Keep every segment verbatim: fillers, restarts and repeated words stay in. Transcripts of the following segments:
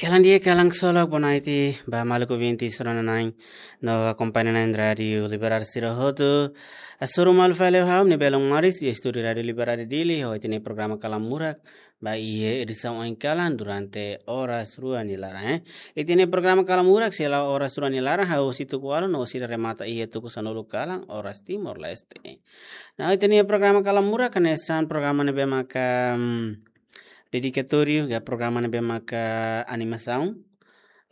Kalan di'ak, kalan ksolok, boa noite ba maluk ouvintes rona-na'in no akompaña na'in Rádiu Liberdade sira hotu. Hasoru malu fali ho ha'u, Nibelung Maris, iha estúdiu Rádiu Liberdade Dili, ho ita-nia programa Kalan Murak, ba iha edisaun oin kalan durante oras rua nia laran, eh. Ita-nia programa Kalan Murak sei la'o oras rua nia laran, hahú husi tuku ualu no sei remata iha tuku sanulu kalan, oras Timor-Leste. Nah, ita-nia programa Kalan Murak hanesan programa ne'ebé maka, hmm, dedikatóriu, ka programa ne'ebé maka animasaun.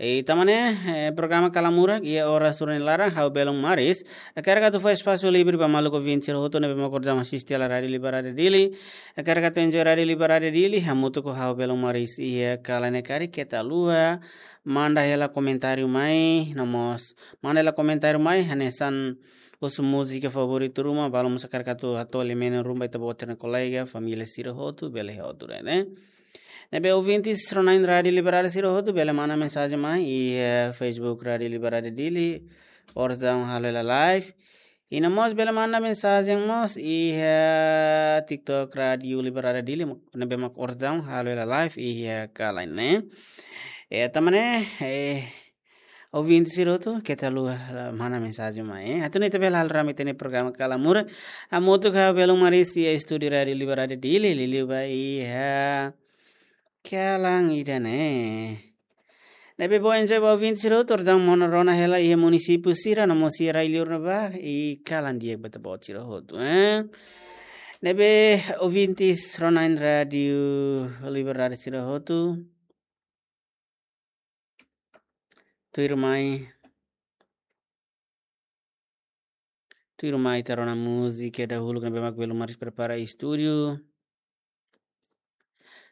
I tanba ne'e, eh, programa Kalan Murak iha oras rua nia laran, ha'u Belung Maris hakarak atu fó espasu livre ba maluk ouvintes sira hotu ne'ebé maka orsida asiste hela Rádiu Liberdade Dili. Hakarak atu enjoy Rádiu Liberdade Dili, hamutuk ho ha'u Belung Maris iha kalan ne'e karik keta haluha manda hela komentáriu mai, no mós manda hela komentáriu mai hanesan husu múzika favoritu ruma, balu mós hakarak atu hato'o lia-menon ruma ba ita-boot sira-nia kolega, família sira hotu, bele hotu de'it, ne'e. Ne'ebé ouvintes rona-na'in Rádiu Liberdade sira hotu, bele manda mensajen mai iha, eh, Facebook Rádiu Liberdade Dili, orsida halo hela live. I no mós bele manda mensajen mós iha, eh, TikTok Rádiu Liberdade Dili, ne'ebé maka orsida halo hela live iha, eh, kalan ne'e. Eh, tanba ne'e, eh, ouvintes sira hotu, keta haluha, eh, manda mensajen mai, eh. Atu nune'e ita bele hala'o rame ita-nia programa Kalan Murak. Hamutuk ho ha'u Belung Maris iha estúdiu Rádiu Liberdade Dili, liuliu ba iha, eh, kalan ida-ne'e. Ne'ebé bom enjoy ba ouvintes sira hotu, orsida mós rona hela iha munisípiu sira, no mós iha rai-liur ne'ebá, i kalan di'ak ba ita-boot sira hotu, eh. Ne'ebé ouvintes rona-na'in Rádiu Liberdade sira hotu, tuirmai, tuirmai ita rona múzika dahuluk ne'ebé mak Belung Maris prepara iha estúdiu.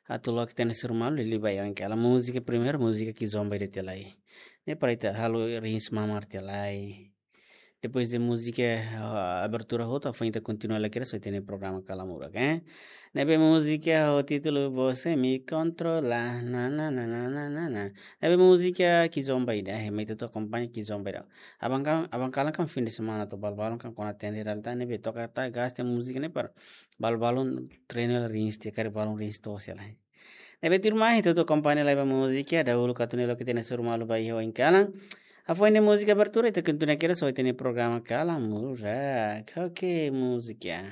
Atu loke ita-nia hasoru malu, liuliu ba iha oin kalan. Múzika primeiru, múzika Kizomba ida tiha lai. Ne'e para ita halo rins mamar tiha lai. Depois de múzika, ah, abertura hotu, hafoin ita kontinua lai kedas ho ita-nia programa Kalan Murak, eh. Ne'ebé múzika ho títulu Você Me Controla, na, na, na. Ne'ebé múzika Kizomba ida, eh, mai ita atu akompaña Kizomba ida. Aban kalan, aban kalan kan fim de semana to'o balu-balun kan kona atende hela tan, ne'ebé toka tiha gasta múzika ne'e para balu-balun treinu hela rins tiha, karik balun rins to'os hela. Ne'ebé tuirmai, ita atu akompaña lai ba múzika dahuluk atu nune'e loke ita-nia hasoru malu ba iha oin kalan. Hafoin ne'e múzika abertura, ita kontinua kedas ho ita-nia programa Kalan Murak. Oke, múzika.